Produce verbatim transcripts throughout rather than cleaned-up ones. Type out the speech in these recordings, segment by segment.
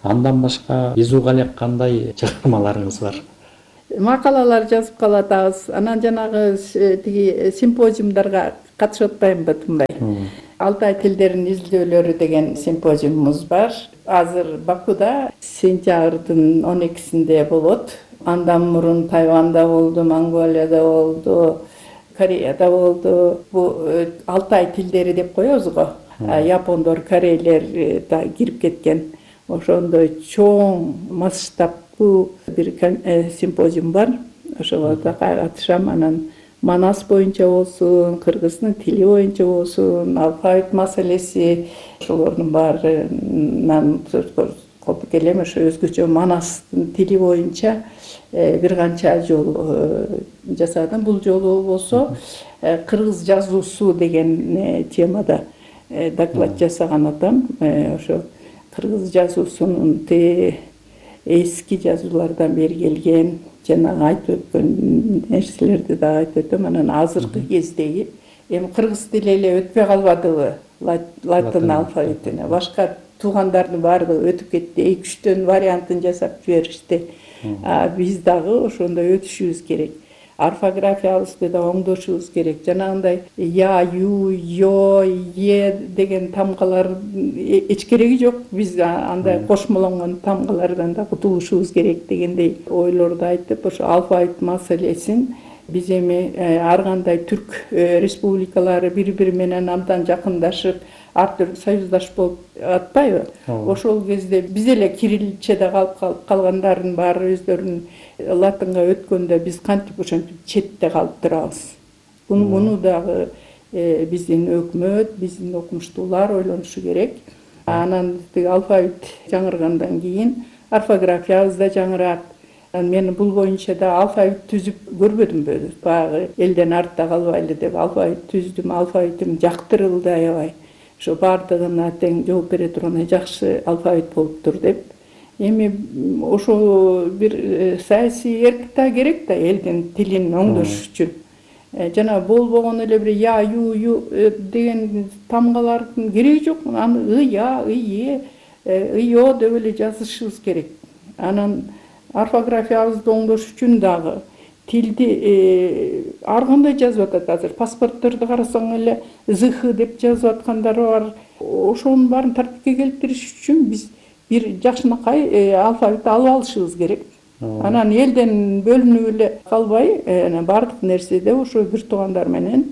Андан башка Изуга эле кандай чыгармаларыңыз бар? Макалалар жазып калатабыз. Анан жанагы тиги симпозиумдарга катышып атпаймынбы тынбай. Алтай тилдерин изилдөөлөрү деген симпозиумубуз бар. Азыр Бакуда сентябрдын он экисинде болот. Андан мурун Тайванда болду, Монголияда болду, Кореяда болду. Бу Алтай тилдери деп коебуз го. Япондор, корейлер да кирип кеткен. Ошондой чоң масштабтуу бир симпозиум бар. Ошого да катышам. Анан Манас боюнча болсун, кыргыздын тили боюнча болсун, алфавит маселеси, ошолордун баарынан коп келем. Ошо өзгөчө Манастын тили боюнча бир канча жолу жасадым. Бул жолу болсо кыргыз жазуусу деген темада доклад жасаган атам. Ошо кыргыз жазуусунун эски жазуулардан бери келген жанагы айтып өткөн нерселерди да айтып өтөм. Анан азыркы кездеги эми кыргыз тили эле өтпөй калбадыбы латын алфавитине. Башка туугандардын баардыгы өтүп кетти. эки үчтөн вариантын жасап жиберишти. Биз дагы ошондой өтүшүбүз керек. Орфографиябызды да оңдошубуз керек. Жанагындай я, ю, ё, е деген тамгалар эч кереги жок. Биз андай кошмолонгон тамгалардан да кутулушубуз керек дегендей ойлорду айтып, ошо алфавит маселесин биз эми ар кандай түрк республикалары бири-бири менен абдан жакындашып, ар түрдүү союздаш болуп атпайбы? Ошол кезде биз эле кирилличеде калып калгандардын баары өздөрүнүн латынга өткөндө биз кантип ошентип четте калып турабыз. Муну дагы биздин өкмөт, биздин окумуштуулар ойлонушу керек. Анан алфавит жаңыргандан кийин орфографиябыз да жаңырат. Мен бул боюнча да алфавит түзүп көрбөдүмбү? Баягы элден артта калбайлы деп алфавит түздүм, алфавитим жактырылды аябай. Ошо баардыгына тең жооп бере турган жакшы алфавит болуптур деп. Эми ошо бир саясий эрк да керек да элдин тилин оңдош үчүн. Жана болбогон эле бир я, ю, ю деген тамгалардын кереги жок. Аны ы, я, ы, е, ы, о деп эле жазышыбыз керек. Анан орфографиябызды оңдош үчүн дагы тилди ар кандай жазып атат азыр. Паспортторду карасаң эле зх деп жазып аткандар бар. Ошонун баарын тартипке келтириш үчүн биз бир жакшынакай алфавит алып алышыбыз керек. Анан элден бөлүнүп эле калбай, баардык нерседе ошо бир туугандар менен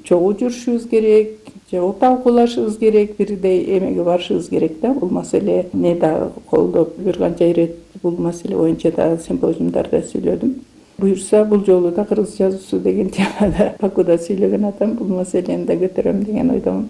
чогуу жүрүшүбүз керек, чогуу талкуулашыбыз керек, бирдей эмеге барышыбыз керек да. Бул маселе не дагы колдоп бир канча ирет бул маселе боюнча да симпозиумдарда сүйлөдүм. Буюрса бул жолу да кыргыз жазуусу деген темада Бакуда сүйлөгөн атам, бул маселени да көтөрөм деген ойдомун.